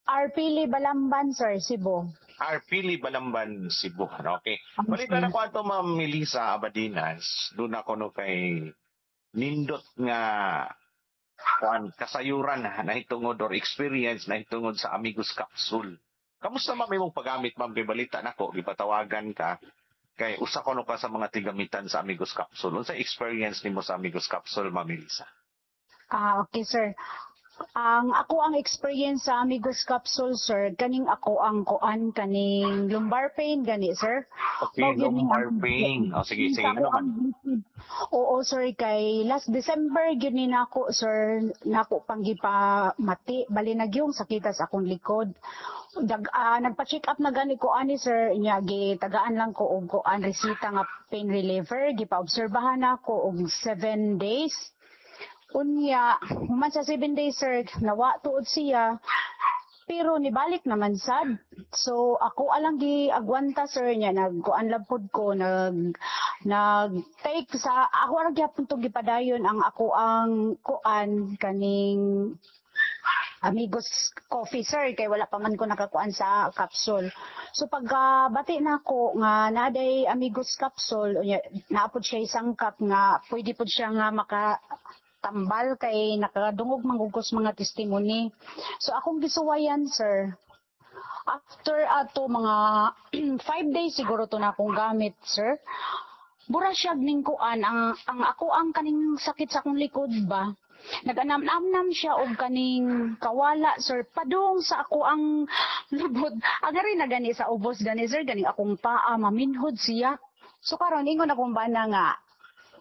Arpili Balamban, sir, Cebu. Arpili Balamban, Cebu. Okay. Okay, Balita sir. Na ko ato, Ma'am Melissa Abadinas, doon ako no kay nindot nga kuan kasayuran na nahitungod or experience nahitungod sa Amigos Capsule. Kamusta, ma'am, imong paggamit, ma'am, kay balita nako gipatawagan ka kay usa ko no ka sa mga tigamitan sa Amigos Capsule. Unsa experience nimo sa Amigos Capsule, Ma'am Melissa? Ah, okay, sir. Ang ako ang experience sa Amigos Capsule, sir, kaning ako ang kuan kaning lumbar pain gani, sir. Okay, Mao gyud ning lumbar ang pain. O sige, sige, ako ano man. ang Oo, sir, kay last December gyud ni nako, sir, nako pang gipamati bali nagyong sakita sa akong likod. Nagpa-check up na gani ko ani, sir, nya gitagaan lang ko og kuan resita nga pain reliever, gipa-obserbahan nako og 7 days. Unya, human sa 7 days, sir, nawa tuod siya. Pero nibalik naman sad. So ako alang gi agwanta, sir, niya nagkuan lang pod ko, nag nag take sa ako ra gyapon to gipadayon ang ako ang kuan kaning Amigos Coffee, sir, kay wala pa man ko nakakuan sa capsule. So pagka bati na ako nga naday Amigos Capsule, unya naapod siya isang cup nga pwede pod siya nga maka tambal kay nakadungog manggugos mga testimony. So akong gisuwayan, sir. After ato mga 5 days siguro to na akong gamit, sir. Bura siya ning kuan ang ako ang kaning sakit sa akong likod ba. Naganam-namnam siya og kaning kawala, sir, padung sa ako ang lubot. Agari na gani sa ubos gani, sir, ganing akong paa maminhod siya. So karon ingon akong bana nga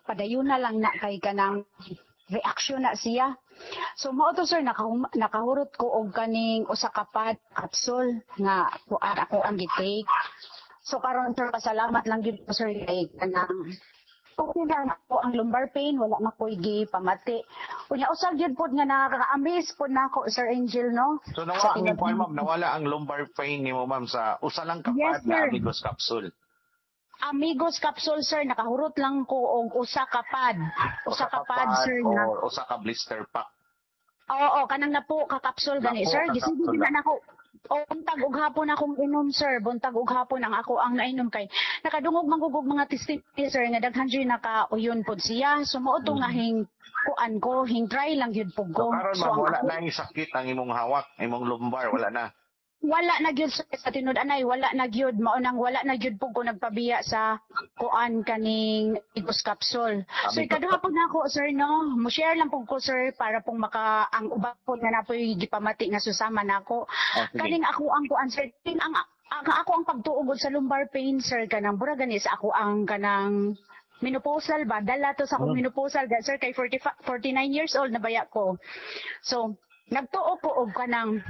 padayon na lang na kay kanang reaction na siya. So mao to, sir, nakahurot ko og kaning usa ka pad capsule nga kuan ako ang gi-take. So karon, sir, pasalamat lang gyud ko, sir, kay kanang okay na ako ang lumbar pain, wala na ko'y gipamati. Unya usa gyud pod nga nakaka-amaze pod nako, Sir Angel, no? So Sa nawa ang kuan, ma'am, nawala ang lumbar pain nimo, ma'am, sa usa lang ka Yes, pad na sir. Amigos Capsule. Amigos Capsule, sir, nakahurot lang ko og usa ka pad. Usa ka pad, sir, na or usa ka blister pack. Oo, kanang napo ka capsule gani, Napo sir. ka Gisigi capsule na nako. O buntag ug hapon akong inom, sir. Buntag ug hapon ang ako ang nainom kay nakadungog manggugog mga testimony, sir, nga daghan jud naka-uyon pod siya. So mao to nga hing kuan ko, hing try lang gyud pug So ko. karon, So ma'am, ang wala ako, na yung sakit ang imong hawak, imong lumbar, wala na. Wala na gyud, sir, sa tinud anay, wala na gyud. Mao nang wala na gyud pug ko nagpabiya sa kuan kaning Amigos Capsule. So Amigos ikaduha pud nako, sir, no. Mo share lang pug ko, sir, para pong maka ang uban po nga napoy gipamati nga susama nako. Oh, sige. Kaning ako ang kuan, sir, ang ako ang pagtuugod sa lumbar pain, sir, kanang bura gani sa ako ang kanang menopausal ba, dala to sa akong menopausal ga, sir, kay 40, 49 years old na baya ko. So nagtuo ko og kanang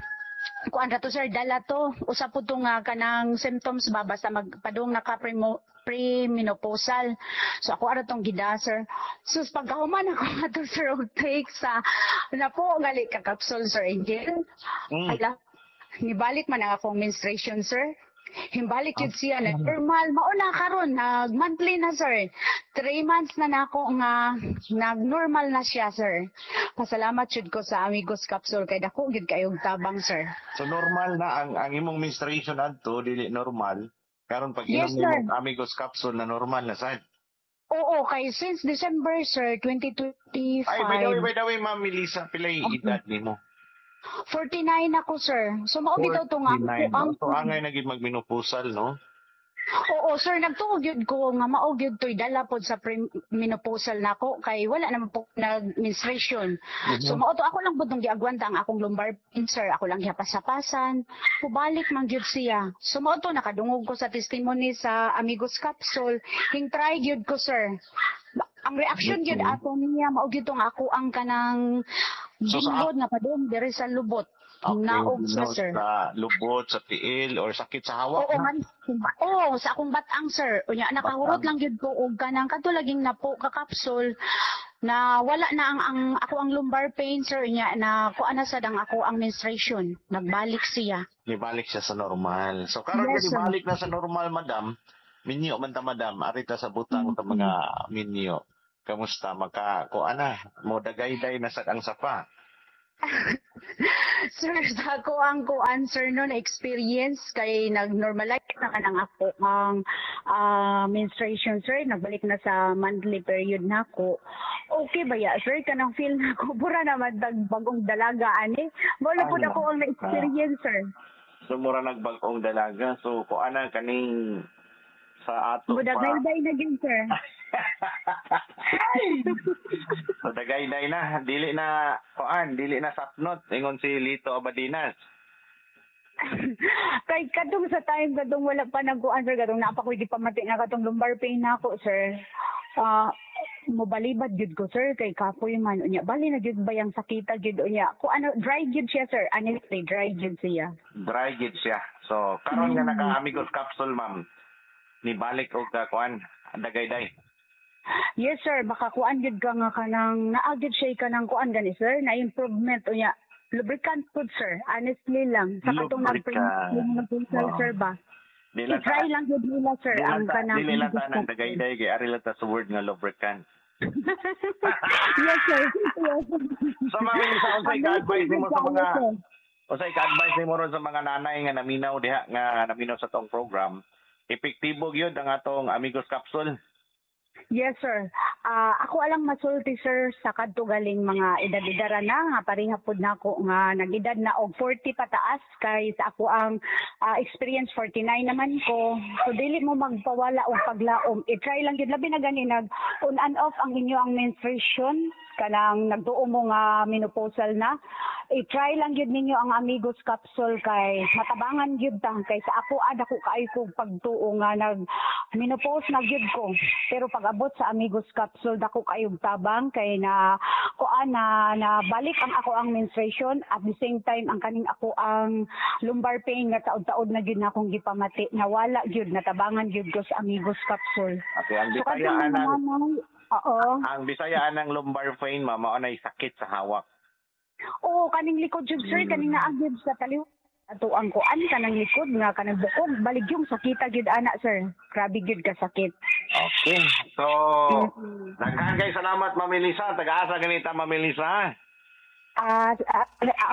kuan ra to, sir, dala to usa po to nga kanang symptoms ba basta magpadung naka premenopausal. So ako ara tong gida, sir. Sus, pagkahuman ako ato, sir, og take sa napo ngali ka capsule, Sir Angel, ala, nibalik man ang akong menstruation, sir. Himbalik yun siya na normal. Mao na karon nag monthly na, sir. 3 months na nako nga nag normal na siya, sir. Pasalamat jud ko sa Amigos Capsule kay dako gyud kayong tabang, sir. So normal na ang imong menstruation adto dili normal. Karon pag inom Yes, sir. nimo Amigos Capsule na normal na sad. Oo, kay since December, sir, 2025. Ay, by the way, Ma'am Melissa, pilay edad nimo? 49 ako, sir. So mao bitaw to nga 49. ang So angay na gid magmenopausal, no? Oo, sir, nagtuo gyud ko nga mao gyud to'y dala pod sa menopausal nako kay wala naman po nag-menstruation. So mao to ako lang pud nung giagwanta ang akong lumbar pain, sir. Ako lang gihapas-hapasan. Pubalik man gyud siya. So mao to nakadungog ko sa testimony sa Amigos Capsule. Hing try gyud ko, sir. Ang reaction gyud ato niya mao gyud tong ako ang kanang So, binhod nga padung diri sa lubot. Naog siya, no, sir. Sa lubot, sa tiil, or sakit sa hawak Oo, na? Man. Oo, sa akong batang, sir. Unya, nakahurot Batang. lang gyud ko og kanang kadto laging napo ka capsule na wala na ang ako ang lumbar pain, sir, nya na kuan na sad ang ako ang menstruation. Nagbalik siya. Nibalik siya sa normal. So karon Yes, nga sir. nibalik na sa normal, madam. Minyo man ta, madam, arita sa butang sa mga minyo. Kamusta maka ko ana mo dagayday na sa ang sapa. Sir, sa ako ang kuan, sir, no, na experience kay nag-normalize na kanang ako ang menstruation, sir, nagbalik na sa monthly period na ako. Okay ba ya, sir, kanang feel na ako pura naman tag bagong dalaga ani. Mao na pud Ay, ako ang na-experience, sir. So mura nagbag-ong dalaga. So kuan na kaning sa ato pa. Budagay na gyud, sir. So dagayday na, dili na kuan, dili na sapnot ingon si Lito Abadinas. Kay kadtong sa time kadtong wala pa nagkuan, sir, kadtong naa pa ko'y gipamati nga katong lumbar pain nako, sir. Ah, mobalibad gyud ko, sir, kay kapoy man unya. Bali na gyud ba yang sakita gyud unya. Ko ano, dry gyud siya, sir. Honestly, dry gyud siya. Dry gid siya. So karon nga naka Amigos capsule, ma'am, ni balik og ka kuan, dagayday. Yes, sir, baka kuan gyud ka nga kanang naa gyud siya kanang kuan gani, sir, na improvement unya. Lubricant pud, sir, honestly lang. Sa katong Lubricant. nag sir ba. Di lang I-try lang gyud nila, sir, di lang ang ta, kanang dili lang ta Amigos nang capsule. dagayday kay ari lang ta sa word nga lubricant. Yes, sir. Yes. So ma'am Elisa, unsay ka-advise nimo sa mga Amazing sir. unsay ka-advise nimo ron sa mga nanay nga naminaw diha, nga naminaw sa tong program? Epektibo gyud ang atong Amigos capsule? Yes, sir. Ah, ako alang masulti, sir, sa kadto galing mga edad-edara na nga pareha pud nako nga nag-edad na og 40 pataas kay sa ako ang experience 49 naman ko. So dili mo magpawala og paglaom. I-try lang gyud, labi na gani nag on and off ang inyo ang menstruation, kanang nagduo mo nga menopausal na. I-try lang gyud ninyo ang Amigos capsule kay matabangan gyud ta, kay sa ako ada ko kaayo kog pagtuo nga nag menopause na gyud ko. Pero pag abot sa Amigos capsule, dako kayog tabang kay na kuan na na balik ang ako ang menstruation, at the same time ang kaning ako ang lumbar pain nga taod-taod na gyud na akong gipamati, nawala gyud, natabangan gyud ko sa Amigos capsule. Okay, ang So Bisaya kadtong mga anang nanay, oo. Ang Bisaya anang lumbar pain, ma'am, mao nay sakit sa hawak. Oo, kaning likod jud, sir, kaning naa gyud sa taliw. Ato ang kuan kanang likod nga kanang bukog balig yung sakita gyud ana, sir. Grabe gyud ka sakit. Okay. So, daghan kay salamat, Ma'am Elisa. Taga-asa ganita, Ma'am Elisa? Ah,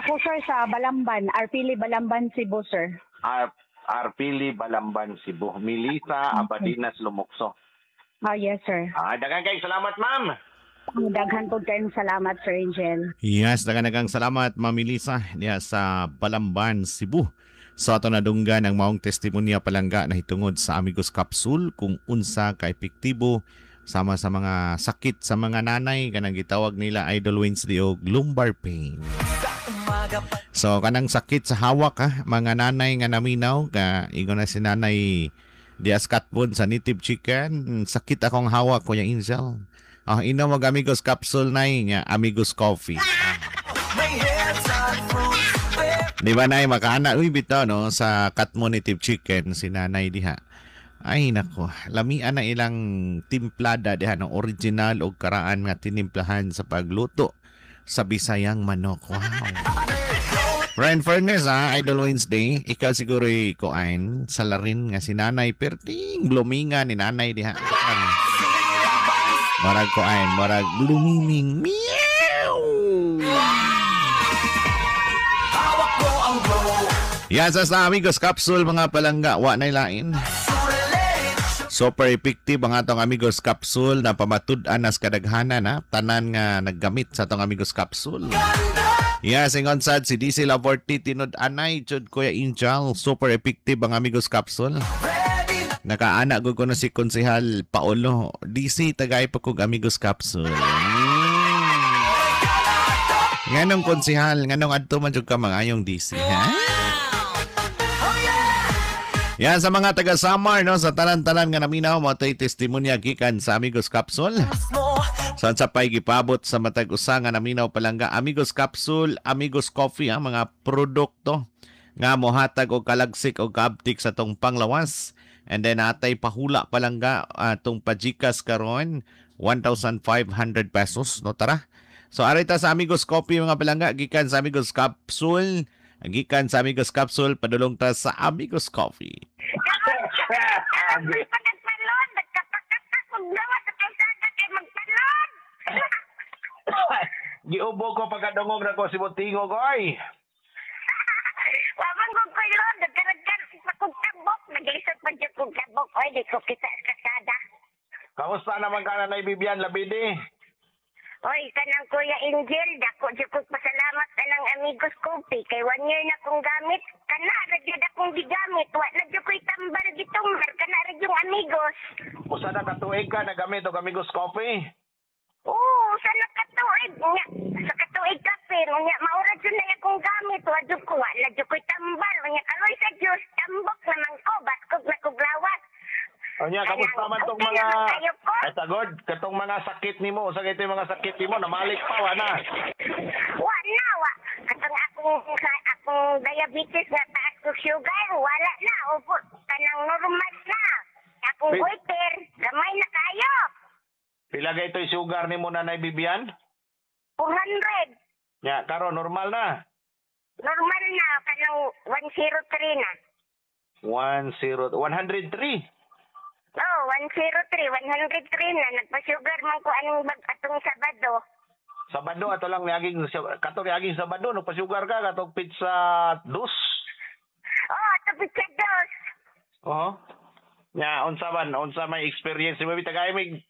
ako, sir, sa Balamban, Arpili, Balamban, Cebu, sir. Arpili, Balamban, Cebu. Melissa Abadinas Lumukso. Ah, yes, sir. Ah, daghan kay salamat, ma'am. Daghan po kayong salamat, Sir Angel. Yes, daghang salamat, Ma'am Elisa, diha sa Balamban, Cebu. So ato nadunggan ang maong testimonya, palangga, na hitungod sa Amigos Capsule, kung unsa ka epektibo sama sa mga sakit sa mga nanay kanang gitawag nila, Idol Wednesday, og lumbar pain. So kanang sakit sa hawak ha, mga nanay nga naminaw ka, ingon na si Nanay Dias Katbon sa Native Chicken, "Sakit akong hawak, Kuya Angel." Ah, inom og Amigos Capsule nay nga Amigos Coffee. Ah. Di ba, nay, makaana uy bitaw no sa Katmo Native Chicken si nanay diha. Ay nako, lamian na ilang timplada diha no, original og karaan nga tinimplahan sa pagluto sa Bisayang manok. Wow. Brian Furnace ha, Idol Wednesday, ikaw siguro kuan salarin nga si nanay perting bloominga ni nanay diha. Marag kuan, marag blooming. Meow! Yan sa Amigos Capsule, mga palangga, wa na lain. Super effective ang atong Amigos Capsule na pamatud-an nas kadaghanan ha, tanan nga naggamit sa atong Amigos Capsule. Yes, ingon sad si DC Lavorti, "Tinud-anay jud, Kuya Angel, super effective ang Amigos Capsule. Nakaana gud ko na si Konsehal Paolo. DC, tagay pa kog Amigos Capsule." Nganong konsehal, nganong adto man jud ka mangayong DC, ha? Yan sa mga taga Samar no, sa tanan-tanan nga naminaw mo to'y testimonya gikan sa Amigos Capsule. So sa pay gipabot sa matag usa nga naminaw, palangga, Amigos Capsule, Amigos Coffee ang mga produkto nga mohatag og kalagsik og kaabtik sa tong panglawas. And then atay pahula, palangga, atong pa-GCash karon 1,500 pesos no, tara. So ari ta sa Amigos Coffee, mga palangga, gikan sa Amigos Capsule, gikan sa Amigos Capsule padulong ta sa Amigos Coffee. Nagpalon, nagkapakatak, magdawa sa kalsada kay magpalon. Giubo ko pagkadungog na ko si Tingog oy. Wa man ko koy lord, nagkaragkar pa kong tabok, naglisod pa jud kong tabok. Oy, di ko kita sa kasada. Kamusta naman ka, Nanay Bibian Labidi? Oy, kanang Kuya Angel, dako jud ko pasalamat kanang Amigos Coffee kay 1 year na kong gamit. Kana ra jud akong gigamit, wa na jud ko'y tambal gitumbar, kana ra yung Amigos. Usa na ka tuig ka nagamit og Amigos Coffee? Oo, sa nakatuig nya, sa katuig kapin, unya maura jud na akong gamit, wa jud ko, wa na jud ko'y tambal, unya kaloy sa Dios, tambok naman ko, baskog na kog lawas. Unya, kamusta man tong Okay mga naman kayo ko? Ay, tagod, katong mga sakit nimo, usa kay mga sakit nimo namalik pa wa na? Wa na, wa. Katong akong diabetes nga taas ko sugar, wala na. Opo, kanang normal na. Akong goiter, gamay na kayo. Pila kay ito'y sugar nimo, Nanay Bibian? 400. Nya, karon normal na? Normal na, kanang 103 na. 10 103. Oh, 103, 103 na. Nagpa-sugar man ko anong bag atong Sabado. Sabado ato lang niaging kato niaging Sabado no pa-sugar ka katong pizza dos. Oh, ato pizza dos. Oo. Nya, unsa man, unsa may experience nimo bi tagay mig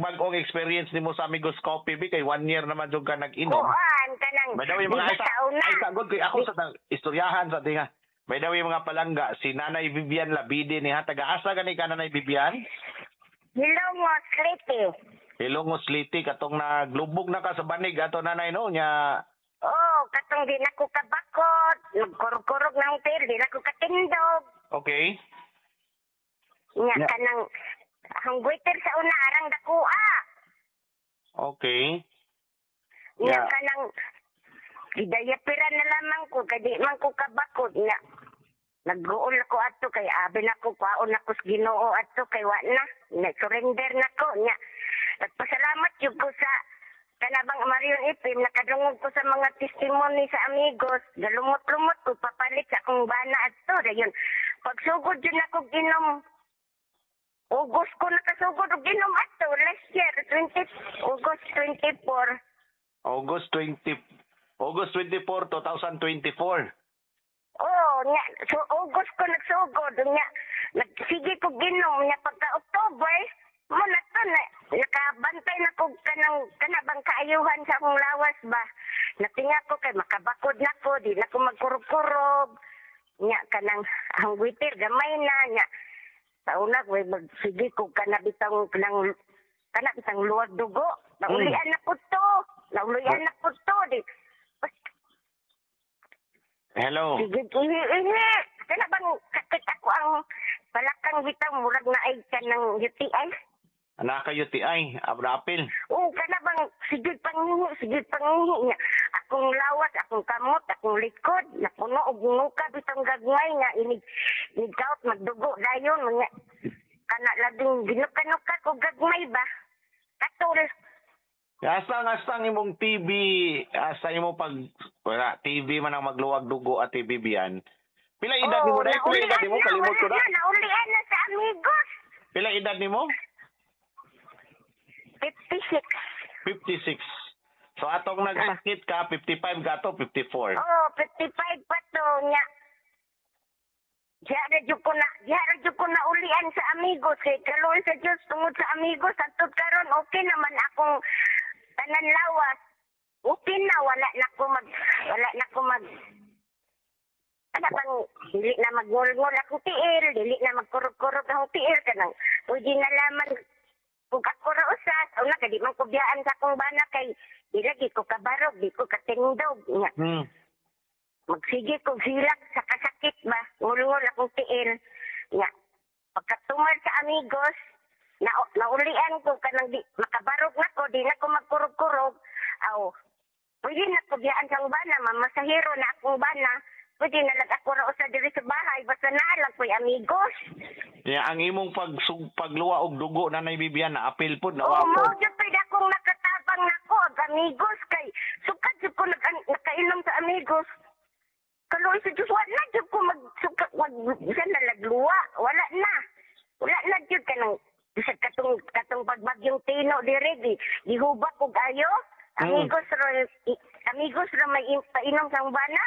bag-ong experience nimo sa Amigos Coffee bi kay 1 year naman jud ka nag-inom. Kuan, kanang, By the way, mga di ba sa una? Ay, sagod kay ako sa istoryahan sa tinga. By the way, mga palangga, si Nanay Vivian Labide ni ha, taga-asa gani ka, Nanay Vivian? Hilongos, Leyte. Hilongos, Leyte, katong naglubog na ka sa banig ato, Nanay, no nya? Oh, katong di na ko kabakot, nagkurog-kurog na akong tiil, di na ko katindog. Nya kanang akong goiter sa una arang dakua. Nya kanang gidayapiran na lamang ko kay di man ko kabakod nya. Nagguol ako ato kay abi na ko kwaon ako sa Ginoo ato kay wa na, na-surrender na ko nya. Nagpasalamat jud ko sa kanabang Marion Ipim, nakadungog ko sa mga testimony sa Amigos, galumot-lumot ko papalit sa akong bana ato dayon. Pagsugod jud nako ginom, August ko nakasugod og ginom ato last year, 20 August 24. August 20 August 24, 2024. Oh, nya so August ko nagsugod nya. Nagsige ko ginom nya pagka October mo na to na nakabantay na ko kanang kanabang kaayuhan sa akong lawas ba. Natinga ko kay makabakod na ko, di na ko magkurog-kurog. Nya kanang ang goiter gamay na nya. Sa una ko magsige ko kanabitang kanang kana bitang luwag dugo. Naulian na ko to. Naulian na ko to. Di Hello. Sige, ihi, ihi. Kana bang kakit ako ang balakang bitaw murag na ay kanang UTI? Anak ka UTI, abrapil. Oo, kana bang sige pangihi niya. Akong lawas, akong kamot, akong likod, napuno og nuka bitong gagmay nga inig inig magdugo dayon nga kana laging ginuka-nuka ko gagmay ba. Katol. Asa nga asa ang imong TV, asa imo pag wala TV man ang magluwag dugo at TV biyan. Pila edad nimo dai? Pila edad nimo? Kalimot ko na. Naulian na sa Amigos. Pila edad nimo? 56. 56. So atong nagsakit ka 55 ka to 54. Oh, 55 pa to nya. Diya ra jud ko na ulian sa Amigos kay kaluoy sa Dios tungod sa Amigos hangtod karon okay naman akong tanan lawas. Okay na, wala na ko mag ano bang dili na magngol-ngol akong tiil, dili na magkurog-kurog akong tiil kanang pwede na lamang kung ako ra usa, una kay di man ko biyaan sa akong bana kay di lagi ko kabarog, di ko katindog nya. Magsige ko hilak sa kasakit ba, ngulngol akong tiil. Nya, pagkatungal sa Amigos, na naulian ko kanang di, makabarog na ko, di na ko magkurog-kurog. Aw, pwede na ko biyaan sa bana, mamasahiro na akong bana. Pwede na lang ako ra usa diri sa bahay, basta naa lang ko'y Amigos. Ya, ang imong pagluwa og dugo, Nanay Bibian, na apil pod na Oo, wa mao pod. jud pwede akong nakatabang nako ag Amigos kay sukad jud ko nakainom sa Amigos. Kaluoy sa Diyos, wala jud ko mag suka mag bisan na lagluwa, wala na. Wala na jud kanang bisag katong katong pagbagyong Tino dire di gihubak og ayo. Amigos ro pagkainom sa bana.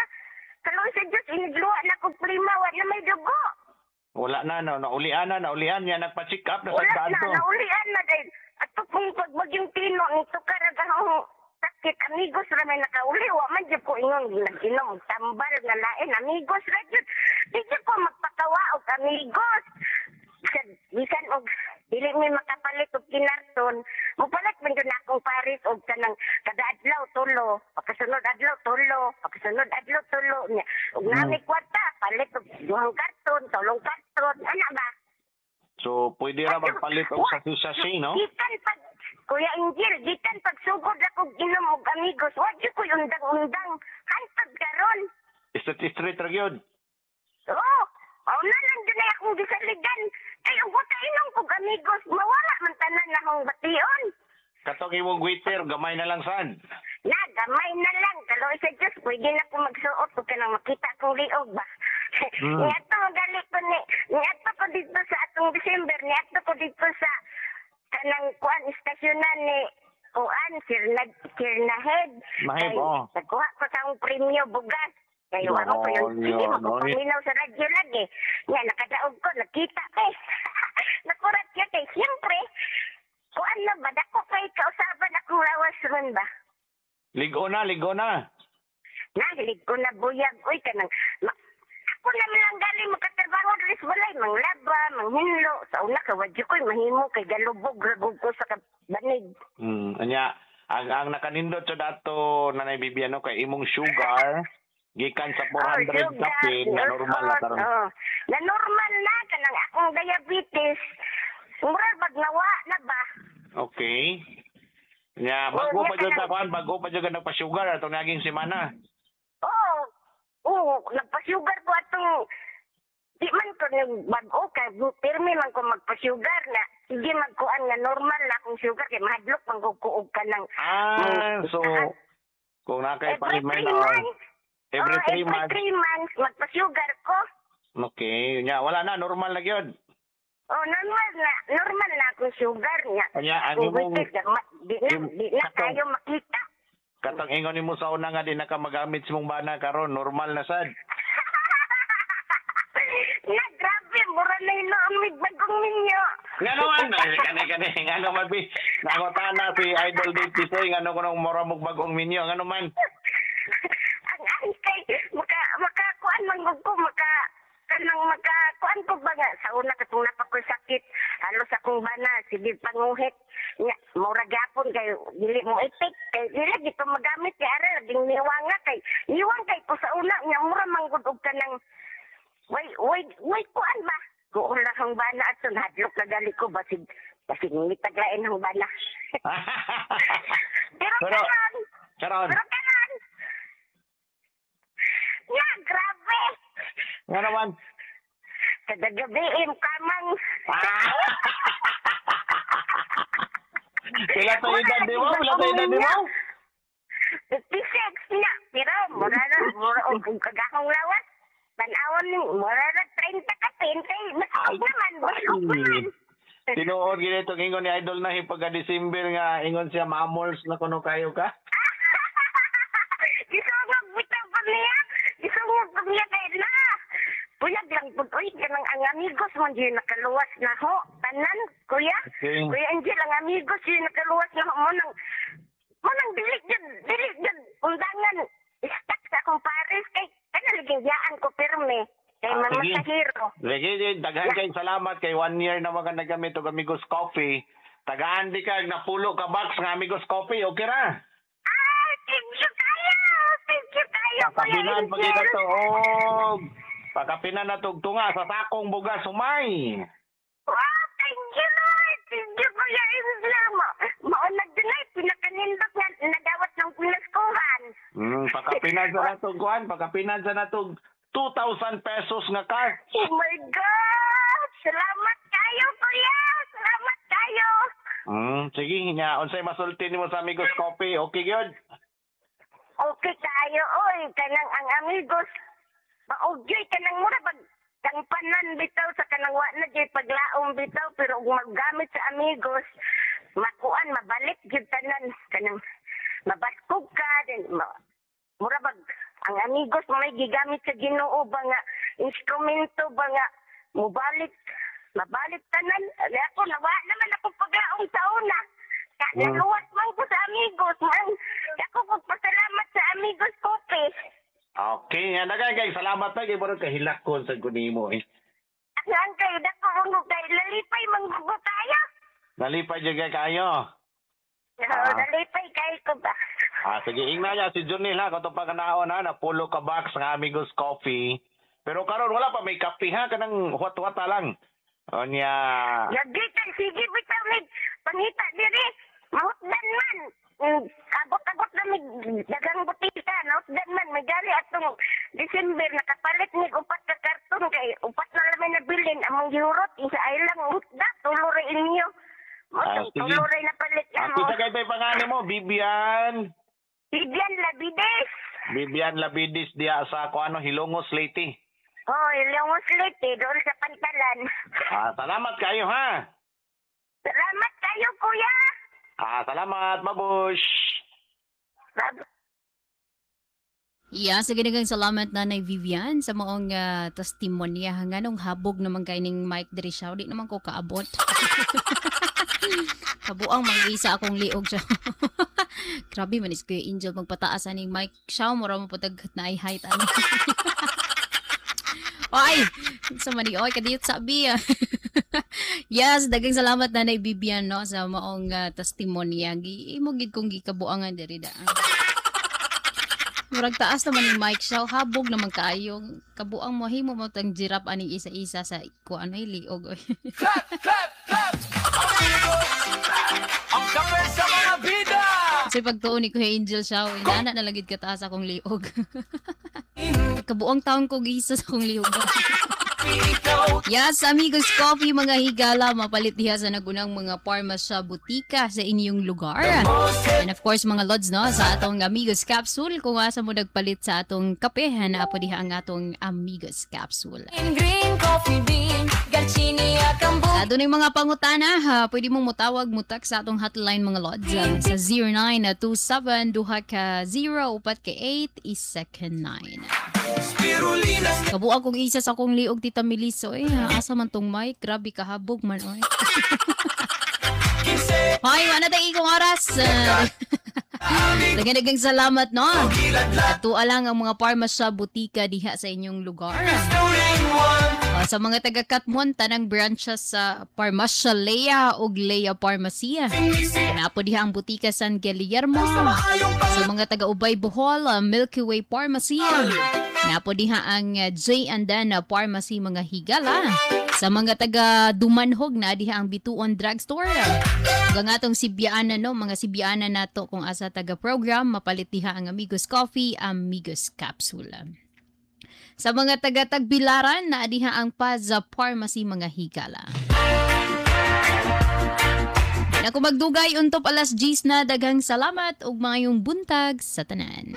Kaluoy sa Diyos, inigluwa na kog prima, wa na may dugo. Wala na, no, naulian na, naulian niya, nagpa-check up na sa Wala na, dato. Naulian na dahil. At kung pagbagyong tino, nito karag ang sakit, amigos ra may nakauli, wa man jud ko ingon, nag-inom, tambal nga lain, amigos ra jud. Di jud ko magpakawa og amigos. Bisan og dili mi makapalit og kinarton, mopalit man jud na akong pares og kanang kada adlaw tulo, pagkasunod adlaw tulo, pagkasunod adlaw tulo nya. Og nami kwarta, palit og duhang karton, tulong karton, ana ba? So, pwede ra magpalit og sa sachet, no? Gikan pag Kuya Angel, gikan pag sugod ako inom og amigos, wa jud ko'y undang-undang hantod karon. Straight straight ra gyud. Oo, oh, na lang dyan ay akong gisaligan. Kay ug wa inom kog amigos, mawala man tanan na akong bation. Katong imong waiter, gamay na lang san. Na, gamay na lang. Kaluoy sa Diyos, pwede na ko magsuot ug kanang makita akong liog ba. Niadto gali ko ni, niadto ko dito sa atong December, niadto ko dito sa kanang kuan istasyonan ni kuan Sir Nahed. Mahib, Kay, oh. nagkuha ko sa akong premyo bugas. Kay wa ko yung sige no, magpaminaw sa radyo lagi. Nga nakadaog ko, nakita kay. Nakurat siya kay siyempre. Kuan na ba dako kay kausaban akong lawas ron ba? Ligo na, ligo na. Nahilig ko na buyag oy kanang ako na lang gali makatrabaho diri sa balay, manglaba, manghinlo. Sa una ka wadyo ko'y mahimo kay galubog ragog ko sa banig. Anya, ang nakanindot sa dato Nanay Bibian, no, kay imong sugar gikan sa 400 kapin na normal na karon. Oh, na normal na kanang akong diabetes. Mura bag nawa na ba? Okay. Nya, bago Oh, pa jud nya ka kuan, bago pa jud ka nagpa-sugar atong naging semana. Oo. Oo, nagpa-sugar ko atong di man ko nag bag-o kay pirmi man ko magpa-sugar na sige magkuan nga normal na akong sugar kay mahadlok man ko og kanang So kung na kay every 3 paliminor months. every Oh, 3 months. Every 3 months magpa-sugar ko. Okay, nya wala na, normal na gyud. Oh, normal na akong sugar niya. Anya ang Kung imong wait, di na kayo makita. Katong ingon nimo sa una nga di na ka magamit sa imong bana karon, normal na sad. Na grabe, mura na hinuamig bagong minyo. Ngano man, kani kani ngano man bi. Nangutana si Idol Dave Tisoy ngano kunong mura mog bagong minyo, ngano man. Ang kay maka kuan man gud ko maka kanang maka kuan ko ba nga sa una katong napakoy sakit halos akong bana sige panguhit nya mura gyapon kay dili mo ipik kay dili gito magamit kay ara laging niwanga kay niwang kay ko sa una nya mura man gud og kanang way way way kuan ba kuon lang ang bana at hadlok na gali ko basig basig mitaglain ang bana. Pero karon Karon. Pero karon ya grabe. Ngano man? Kada gabi kamang. Pila ta edad di mo? Pila ta edad di mo? 56 na. Pero mura na mura og kagakong lawas. Tan-awon ni mura na 30 ka 20. Basog naman, basog naman. Tinuod gid itong ingon ni Idol na pagka December nga ingon siya mamols na kuno kayo ka. Gisungog bitaw pa niya. Gisungog pa niya kay na. Buyag lang pud oy kanang ang amigos mo di nakaluwas na ho. Tanan kuya. Okay. Kuya Angel, ang amigos yun nakaluwas na ho. Mo nang dili jud undangan stuck sa akong pares kay kanang ligayaan ko pirmi. Kay Mama Sige. Sahiro. Sige, daghan kayong salamat kay 1 year na mga nagamit og Amigos Coffee. Tagaan di ka napulo ka box nga Amigos Coffee, okay ra? Ay, thank you kayo. Thank you kayo, Kuya Pakapinan pag Angel. to og pakapinan na tog tunga sa sakong bugas humay. Wow, thank you, Lord. Thank you, Kuya Angel. Maunag din ay pinakanindot nga nadawat ng pinaskuhan. Pakapinan sa natog kuan, pakapinan sa natog 2,000 pesos nga car. Oh my God! Salamat kayo, Kuya! Salamat kayo! Sige nga, unsay masulti nimo sa Amigos Coffee? Okay gyud. Okay kayo, oy. Kanang ang Amigos, maugyoy kanang mura pag kang panan bitaw sa kanang wa na gyud paglaom bitaw pero ug maggamit sa Amigos, makuan mabalik gyud tanan kanang mabaskog ka din mura bag Ang Amigos may gigamit sa Ginoo ba nga instrumento ba nga mubalik mabalik tanan. Ani ako nawa naman ako paglaom sa una. Naluwas man ko sa Amigos man. Ako ko pasalamat sa Amigos Coffee. Okay, nga daghan kay salamat na kay murag kahilakon sa kunimo eh. Ang kay dako mo kay lalipay man gugo tayo. Nalipay jud kay kayo. Oo, nalipay kay ko ba. Ah, sige, ingna niya si Junil ha, katong pagkanaon ha, napulo ka box nga Amigos Coffee. Pero karon wala pa may kape ha, kanang huwat-huwata lang. O niya, Lagi kay sige bitaw mig pangita diri. Mahutdan man. Abot-abot na mig daghang butika, nahutdan man may gali atong December nakapalit mig upat ka karton kay upat na lang may nabilin among gihurot isa ay lang hutda tulo ra inyo. Mo Ah, sige. tulo ra napalit Ah, amo. kinsa kay tay pangalan mo? Bibian. Bibian Labides. Bibian Labidis diya sa kuano Hilongos Leyte. Oh, Ilongos Leyte doon sa pantalan. Ah, salamat kayo ha. Salamat kayo, kuya. Ah, salamat, babush. Bye. Yeah, sige, daghang salamat, Nanay Vivian, sa maong testimonya. Nganong habog naman kay ning mic diri siya. Di naman ko kaabot. Kabuang mang-isa akong liog siya. Grabe man is Kuya Angel magpataas aning mic siya. Mura mo patag na ay height ano. Ay, sa mani oy kadiyot sabi. Ah. Yes, daghang salamat, Nanay Vivian, no, sa maong testimonya. Gi imo gid kong gikabuangan diri da. Murag taas naman yung mic siya. Habog naman kaayo. Kabuang mo, himo mo tang giraffe aning isa-isa sa ko ano liog. Oy. Clap, clap, clap! Amigos! Ang kape sa mga bida! Kasi pagtuon ni Kuya Angel siya, inana na lang gid kataas akong liog. Kabuang taon ko gisa sa akong liog. Ikaw Yes, Amigos Coffee, mga higala, mapalit diha sa nagunang mga parmasya butika sa inyong lugar. And of course, mga lods, no, sa atong Amigos Capsule, kung asa mo nagpalit sa atong kape, naa po diha ang atong Amigos Capsule. In green coffee bean, Garcinia Cambodia. Sa doon yung mga pangutana, ha, pwede mong mutawag, mutak sa atong hotline, mga lods, sa 0927 duha ka 0 upat ka 8 isa ka 9. Spirulina. Kabuang kong isa sa akong liog, Tita Meliso, eh. Asa man tong mic, grabe kahabog man oy. Kinse. Hoy, wala tayo ikong oras. Daghang salamat, no. Atua lang ang mga parmasya butika diha sa inyong lugar. During one. Sa mga taga Katmon, tanang branches sa Parmasya Lea ug Lea Pharmacy. Napo diha ang butika San Guillermo. Sa mga taga Ubay Bohol, Milky Way Pharmacy. Napo diha ang J and Dan Pharmacy, mga higala. Sa mga taga Dumanhog, na diha ang Bituon Drugstore. Ug ang atong Sibyana, no, mga Sibyana nato kung asa taga program, mapalit diha ang Amigos Coffee, Amigos Capsule. Sa mga taga Tagbilaran, na diha ang Paza Pharmacy, mga higala. Naku magdugay, untop alas 10 na. Daghang salamat ug maayong buntag sa tanan.